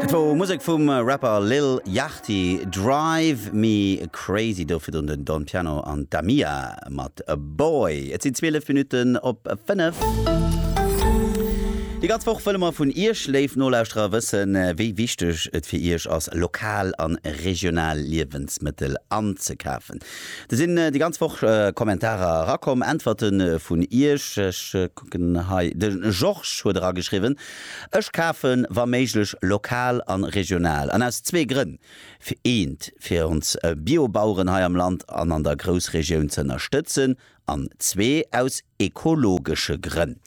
Dat wor Musek vum Rapper Lil Yachty, Drive Me Crazy. Do virdrun den Don Piano an d'Amia mat Boy. Et sinn 12 Minutten op 5. Déi ganz Woch wëlle mer vun Iech, léif Nolauschterer, wëssen, wéi wichteg et fir Iech ass, lokal an regional Liewensmëttel anzekafen. Do sinn déi ganz Woch Kommentarer erakomm, Äntwerte vun Iech. Ech kucken hei, de Georges huet erageschriwwen, Ech kafen wa méiglech lokal an regional, an aus zwee Grënn, fir eent, fir ons Biobaueren hei am Land an an der Groussregioun ze ënnerstëtzen, an zwee, aus ekologesche Grënn.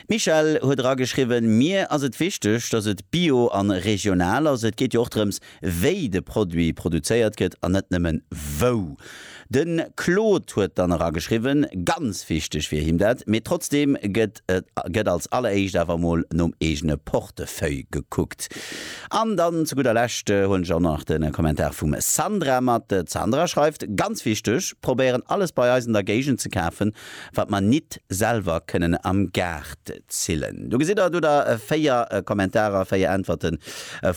D'Michèle huet erageschriwwen, Mir ass et wichteg, dass et bio an regional ass. Et geet jo och drëms, wéi de Produit produzéiert gëtt an net nëmmen wou. De Claude huet dann erageschriwwen, ganz wichteg wier him dat, mee trotzdeem gëtt et gëtt als alleréischt awer emol nom eegene Portefeuille gekuckt. An dann zu gudder Lescht huelen ech och nach de Kommentar vum Sandra mat. D'Sandra schreift, Ganz wichteg, probéieren alles bei eis an der Géigend ze kafen, wat mer nit selwer kënnen am Gaart zillen. Do gesitt der, do der 4 Kommentarer, 4 Äntwerte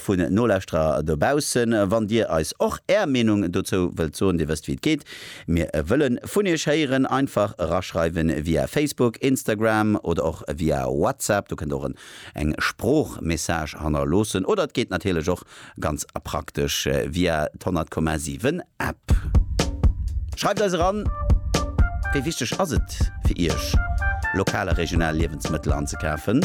vun Nolauschterer dobaussen. Wann dir eis och är Meenung dozou wëllt soen, dir wësst wéi et geet, mir wëlle vun iech héieren. Einfach eraschreiwen via Facebook, Instagram oder och via WhatsApp. Do kënnt der och eng Sproochmessage hannerloossen oder et geet natierlech och Ganz praktesch via d'100,7 App. Schreift eis eran, wéi wichteg ass et fir iech, lokal a regional Liewensmëttel anzekafen?